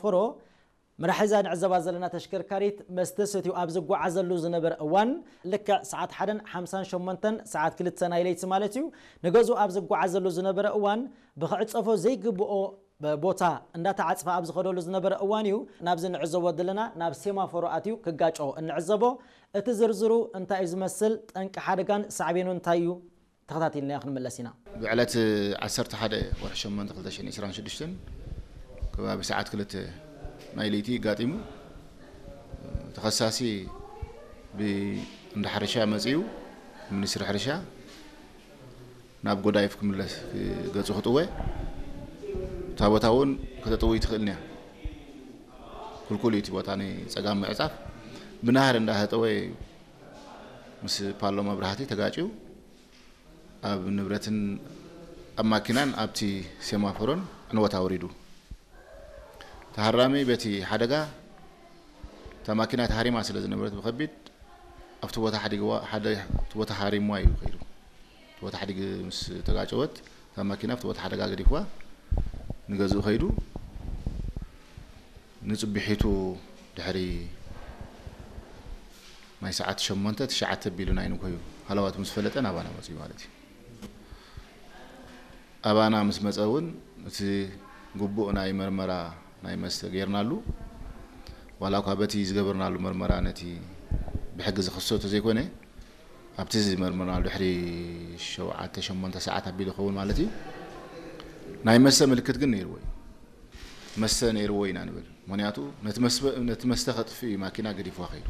ፎሮ መራሒዛ ንዕዘባ ዘለና ተሽከርካሪት መስተ ሰትዩ ኣብ ዝጓዓዘሉ ዝነበረ እዋን፣ ልክዕ ሰዓት ሓደን ሓምሳን ሸሞንተን፣ ሰዓት ክልተ ናይ ለይቲ ማለት እዩ፣ ንገዝኡ ኣብ ዝጓዓዘሉ ዝነበረ እዋን ብክዕጸፎ ዘይግብኦ ቦታ እንዳተዓጽፈ ኣብ ዝኸደሉ ዝነበረ እዋን እዩ ናብዚ ንዕዘቦ ዘለና ናብ ሴማፎሮ ኣትዩ ክጋጮ እንዕዘቦ። እቲ ዝርዝሩ እንታይ እዩ ዝመስል፣ ጠንቂ ሓደጋን ሳዕቤኑ እንታይ እዩ፣ ተኸታቲልና ክንምለስ ኢና። ብዕለት ዓሰርተ ሓደ ወርሒ ሸሞንተ ክልተ ሽሕን ዕስራን ሽዱሽተን ከባቢ ሰዓት ክልተ ናይ ለይቲ ጋጢሙ። ተኸሳሲ ብእንዳ ሕርሻ መጺኡ፣ ሚኒስትሪ ሕርሻ ናብ ጎዳይፍ ክምለስ ገጹ ክጥወ፣ እታ ቦታ እውን ከተጥውይ ትኽእልን እያ። ክልኩል እዩ እቲ ቦታ ንጸጋም ምዕጻፍ። ብናህር እንዳተጠወ ምስ ፓሎ መብራህቲ ተጋጭዩ ኣብ ንብረትን ኣብ ማኪናን ኣብቲ ሴማፎሮን ዕንወት ኣውሪዱ። ተሃራሚ በቲ ሓደጋ እታ ማኪና ተሃሪማ ስለ ዝነበረት ብኸቢድ ኣብቲ ቦታ ሓዲግዋ፣ ሓደ፣ ኣብቲ ቦታ ሃሪምዋ እዩ ከይዱ። እቲ ቦታ ሓዲግ ምስ ተጋጨወት እታ ማኪና ኣብቲ ቦታ ሓደጋ ገዲፍዋ ንገዝኡ ከይዱ። ንጽቢሒቱ ድሕሪ ናይ ሰዓት ሸሞንተ ትሽዓተ ቢሉ ናይ ንኮዩ ሃለዋት ምስ ፈለጠ ናባና መጽዩ ማለት እዩ። ኣባና ምስ መጸ እውን እቲ ግቡእ ናይ መርመራ ናይ መስተ ጌርናሉ። ዋላ እኳ በቲ ዝገበርናሉ መርመራ ነቲ ብሕጊ ዝኽሰቶ ዘይኮነ፣ ኣብቲ ዝመርመርናሉ ድሕሪ ሸውዓተ ሸሞንተ ሰዓት ኣቢሉ ይኸውን ማለት እዩ። ናይ መስተ ምልክት ግን ነይርዎ እዩ። መስተ ነይርዎ ኢና ንብል። ምኽንያቱ ነቲ መስበ-፣ ነቲ መስተ ከጥፍእ እዩ ማኪና ገዲፍዋ ከይዱ።